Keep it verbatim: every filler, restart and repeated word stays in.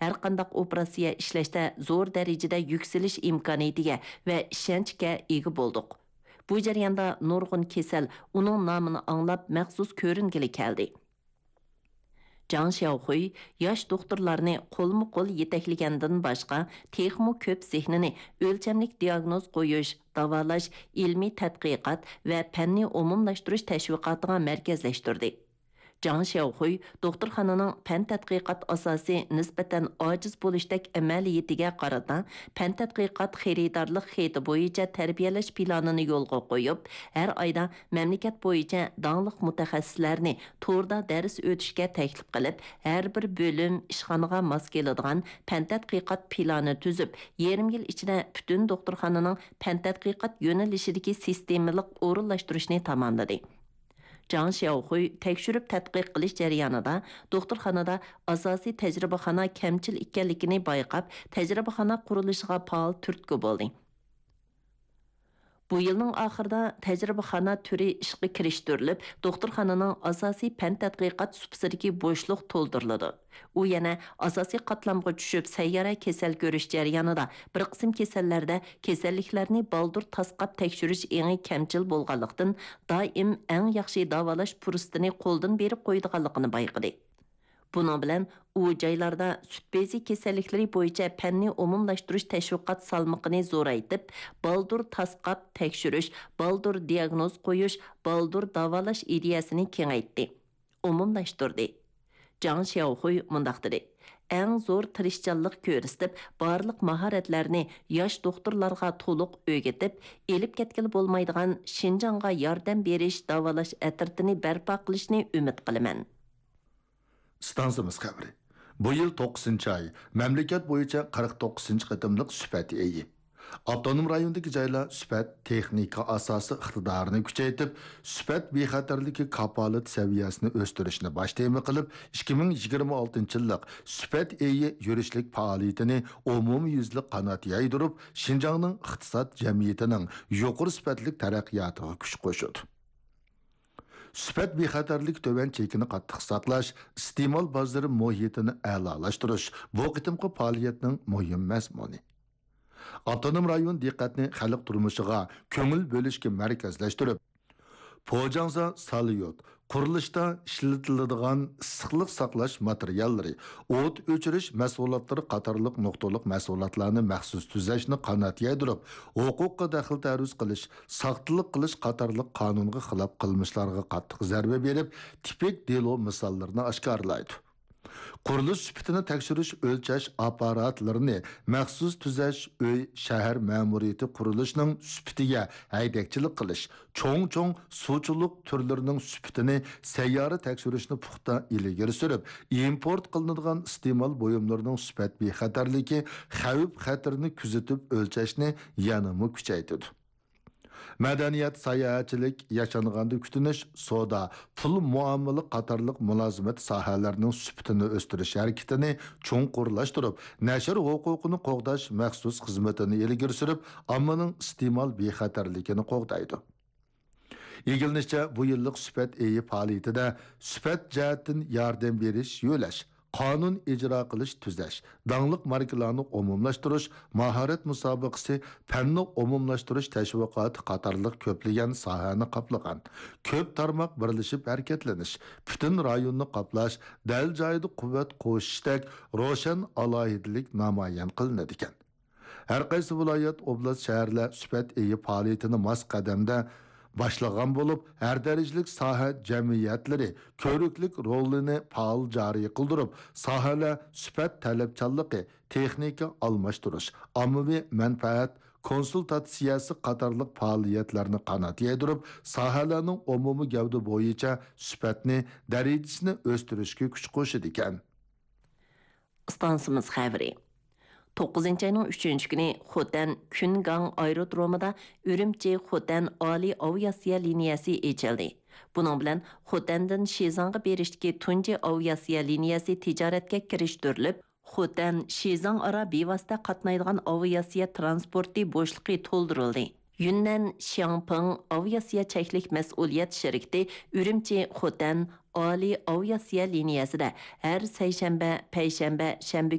ھەرقانداق ئوپېراتسىيە ئىشلەشتە زور دەرىجىدە يۈكسىلىش ئىمكانىيىتىگە ۋە ئىشەنچكە ئىگە بولدۇق. بۇ جەرياندا نۇرغۇن كېسەل ئۇنىڭ نامىنى ئاڭلاپ مەخسۇس كۆرۈنگىلى كەلدى. جاڭ شياۋخۇي ياش دوختۇرلارنى قولمۇ قول يېتەكلىگەندىن باشقا، تېخىمۇ كۆپ زېھنىنى ئۆلچەملىك دىياگنوز قويۇش، داۋالاش، ئىلمىي تەتقىقات ۋە پەننى ئومۇملاشتۇرۇش تەشۋىقاتىغا مەركەزلەشتۈردى. جاڭ شياۋخۇي دوختۇرخانىنىڭ پەن تەتقىقات ئاساسى نىسبەتەن ئاجىز بولۇشتەك ئەمەلىيىتىگە قارىتا، پەن تەتقىقات خېرىدارلىق خېتى بويىچە تەربىيەلەش پىلانىنى يولغا قويۇپ، ھەر ئايدا مەملىكەت بويىچە داڭلىق مۇتەخەسسىسلەرنى توردا دەرس ئۆتۈشكە تەكلىپ قىلىپ، ھەر بىر بۆلۈم، ئىشخانىغا ماس كېلىدىغان پەن تەتقىقات پىلانى تۈزۈپ، يېرىم يىل ئىچىدە پۈتۈن دوختۇرخانىنىڭ پەن تەتقىقات يۆنىلىشىدىكى سىستېمىلىق ئورۇنلاشتۇرۇشنى تاماملىدى. جاڭ شياۋخۇي تەكشۈرۈپ تەتقىق قىلىش جەريانىدا دوختۇرخانىدا ئاساسىي تەجرىبىخانا كەمچىل ئىكەنلىكىنى بايقاپ، تەجرىبىخانا قۇرۇلۇشىغا پائال تۈرتكە بولدى. بۇ يىلنىڭ ئاخىرىدا تەجرىبىخانا تۈرى ئىشقا كىرىشتۈرۈلۈپ، دوختۇرخانىنىڭ ئاساسىي پەن تەتقىقات سۇپىسىدىكى بوشلۇق تولدۇرۇلىدۇ. ئۇ يەنە ئاساسىي قاتلامغا چۈشۈپ، سەييارە كېسەل كۆرۈش جەريانىدا بىر قىسىم كېسەللەردە كېسەللىكلەرنى بالدۇر تاسقاپ تەكشۈرۈش ئېڭى كەمچىل بولغانلىقتىن، دائىم ئەڭ ياخشى داۋالاش پۇرسىتىنى قولدىن بېرىپ قويىدىغانلىقىنى بايقىدى. بۇنىڭ بىلەن ئۇ جايلاردا سۈت بېزى كېسەللىكلىرى بويىچە پەننى ئومۇملاشتۇرۇش تەشۋىقات سالمىقىنى زورايتىپ، بالدۇر تاسقاپ تەكشۈرۈش، بالدۇر دىياگنوز قويۇش، بالدۇر داۋالاش ئىدىيەسىنى كېڭەيتتى، ئومۇملاشتۇردى. جاڭ شياۋخۇي مۇنداق دېدى: «ئەڭ زور تىرىشچانلىق كۆرسىتىپ، بارلىق ماھارەتلەرنى ياش دوختۇرلارغا تولۇق ئۆگىتىپ، ئېلىپ كەتكىلى بولمايدىغان شىنجاڭغا ياردەم بېرىش داۋالاش ئەترىتىنى بەرپا قىلىشنى ئۈمىد قىلىمەن.» ئىستانسىمىز خەۋىرى. بۇ يىل توققۇزىنچى ئاي، مەملىكەت بويىچە قىرىق توققۇزىنچى قېتىملىق سۈپەت ئېيى. ئاپتونوم رايوندىكى جايلار سۈپەت تېخنىكا ئاساسى ئىقتىدارىنى كۈچەيتىپ، سۈپەت بىخەتەرلىكى كاپالىتى سەۋىيەسىنى ئۆستۈرۈشنى باش تېما قىلىپ، ئىككى مىڭ يىگىرمە ئالتىنچى يىللىق سۈپەت ئېيى يۈرۈشلۈك پائالىيىتىنى ئومۇميۈزلۈك قانات يايدۇرۇپ، شىنجاڭنىڭ ئىقتىساد، جەمئىيىتىنىڭ يۇقىرى سۈپەتلىك تەرەققىياتىغا كۈچ قوشىدۇ. سۈپەت بىخەتەرلىكى تۆۋەن چېكىنى قاتتىق ساقلاش، ئىستېمال بازىرى مۇھىتىنى ئەلالاشتۇرۇش بۇ قېتىمقى پائالىيەتنىڭ مۇھىم مەزمۇنى. ئاپتونوم رايون دىققەتنى خەلق تۇرمۇشىغا كۆڭۈل بۆلۈشكە مەركەزلەشتۈرۈپ، پوجاڭزا ساليۇت، قۇرۇلۇشتا ئىشلىتىلىدىغان ئىسسىقلىق ساقلاش ماتېرىياللىرى، ئوت ئۆچۈرۈش مەشغۇلاتلىرى قاتارلىق نۇقتىلىق مەشغۇلاتلارنى مەخسۇس تۈزەشنى قانات يايدۇرۇپ، ھوقۇققا دەخلى تەرۇز قىلىش، ساختىلىق قىلىش قاتارلىق قانۇنغا خىلاپ قىلمىشلارغا قاتتىق زەربە بېرىپ، تىپىك دېلو مىساللىرىنى ئاشكارىلايدۇ. قۇرۇلۇش سۈپىتىنى تەكشۈرۈش، ئۆلچەش ئاپپاراتلىرىنى مەخسۇس تۈزەش، ئۆي، شەھەر مەمۇرىيىتى قۇرۇلۇشىنىڭ سۈپىتىگە ھەيدەكچىلىك قىلىش، چوڭ-چوڭ سۇچىلىق تۈرلىرىنىڭ سۈپىتىنى سەييارە تەكشۈرۈشنى پۇختا ئىلگىرى سۈرۈپ، ئىمپورت قىلىنىدىغان ئىستېمال بۇيۇملىرىنىڭ سۈپەت بىخەتەرلىكى، خەۋپ-خەتىرىنى كۆزىتىپ ئۆلچەشنى يەنىمۇ كۈچەيتىدۇ. مەدەنىيەت، ساياھەتچىلىك، ياشانغاندا كۈتۈنۈش، سودا، پۇل مۇئامىلە قاتارلىق مۇلازىمەت ساھەلەرنىڭ سۈپىتىنى ئۆستۈرۈش ھەرىكىتىنى چوڭقۇرلاشتۇرۇپ، نەشر ھوقۇقىنى قوغداش مەخسۇس خىزمىتىنى ئىلگىرى سۈرۈپ، ئاممىنىڭ ئىستېمال بىخەتەرلىكىنى قوغدايدۇ. ئىگىلىنىشىچە، بۇ يىللىق سۈپەت ئېيى پائالىيىتىدە سۈپەت جەھەتتىن ياردەم بېرىش، يۆلەش، قانۇن ئىجرا قىلىش، تۈزەش، داڭلىق ماركىلارنى ئومۇملاشتۇرۇش، ماھارەت مۇسابىقىسى، پەننى ئومۇملاشتۇرۇش تەشۋىقاتى قاتارلىق كۆپلىگەن ساھەنى قاپلىغان، كۆپ تارماق بىرلىشىپ ھەرىكەتلىنىش، پۈتۈن رايوننى قاپلاش، دەل جايىدا قۇۋۋەت قوشۇشتەك روشەن ئالاھىدىلىك نامايان قىلىنىدىكەن. ھەر قايسى ۋىلايەت، ئوبلاست، شەھەرلەر سۈپەت ئېيى پائالىيىتىنى ماس قەدەمدە باشلىغان بولۇپ، ھەر دەرىجىلىك ساھە جەمئىيەتلىرى كۆرۈكلۈك رولىنى پائال جارى قىلدۇرۇپ، ساھەلەر سۈپەت تەلەپچانلىقى، تېخنىكا ئالماشتۇرۇش، ئاممىۋى مەنپەئەت كونسۇلتاتسىيەسى قاتارلىق پائالىيەتلەرنى قانات يايدۇرۇپ، ساھەلەرنىڭ ئومۇمىي گەۋدە بويىچە سۈپەتنى، دەرىجىسىنى ئۆستۈرۈشكە كۈچ قوشىدىكەن. ئىستانسىمىز خەۋىرى. توققۇزىنچى ئاينىڭ ئۈچىنچى كۈنى خوتەن كۈنگاڭ ئايرودرومىدا ئۈرۈمچى خوتەن ئالىي ئاۋىئاتسىيە لىنىيەسى ئېچىلدى. بۇنىڭ بىلەن خوتەندىن شىزاڭغا بېرىشتىكى تۇنجى ئاۋىئاتسىيە لىنىيەسى تىجارەتكە كىرىشتۈرۈلۈپ، خوتەن شىزاڭ ئارا بىۋاسىتە قاتنايدىغان ئاۋىئاتسىيە ترانسپورتى بوشلۇقى تولدۇرۇلدى. يۈننەن شياڭپىڭ ئاۋىئاتسىيە چەكلىك مەسئۇلىيەت شىركىتى ئۈرۈمچى خوتەن ئالىي ئاۋىئاتسىيە لىنىيەسىدە ھەر سەيشەنبە، پەيشەنبە، شەنبە